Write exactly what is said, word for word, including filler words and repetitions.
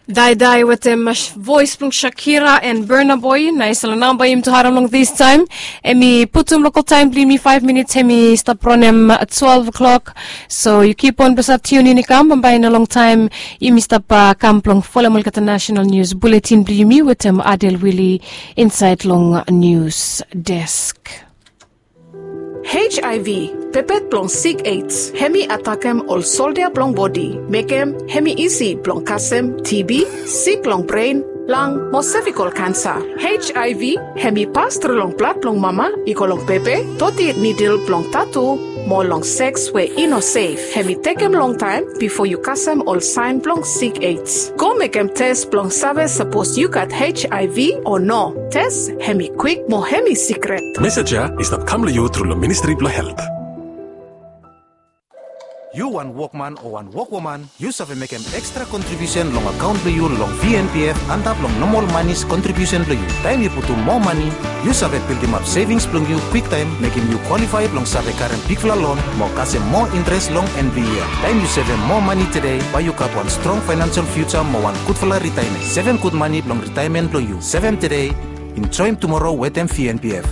Daidai wetem vois blong Shakira and Burna Boy. Naes long namba yumi tu harem long this time. Hemi putum local time blong yumi five minutes hemi stap ronem twelve o'clock. So yu keep on blong stap tune in i kam bambae. In a long time yumi stap kam blong folem olgeta national news bulletin blong yumi wetem Adel Willie inside long news desk. H I V, pepet blong sik AIDS, hemi atakem ol soldia blong bodi, mekem hemi isi blong kasem T B, sik long bren, lang mo sevikol kansa. H I V hemi pas tru long blad blong mama i go long pepe, toti nidil blong tatu, mo long seks we i no sef. Hemi tekem longtaem bifo yu kasem ol saen blong sik AIDS. Go mekem tes blong save sapos yu gat H I V o no. Tes hemi kwik mo hemi sikret. Mesej ya i stap kam long yu tru long Ministri blong Helt. Yu wan wokman o wan wokwoman, yu save mekem ekstra kontribiusen long akaon blong yu long V N P F antap long nomol manis kontribiusen blong yu. Taem yu putum moa mani, yu save bildimap sevings blong yu kwiktaem, mekem yu kwalifae blong save karem bigfala lon mo kasem moa intres long en blong yia. Taem yu sevem moa mani tede, bae yu gat wan strong faenensel fiuja mo wan gudfala ritaemen. Sevem gud mani blong ritaemen blong yu. Sevem tede, enjoem tumoro wetem V N P F.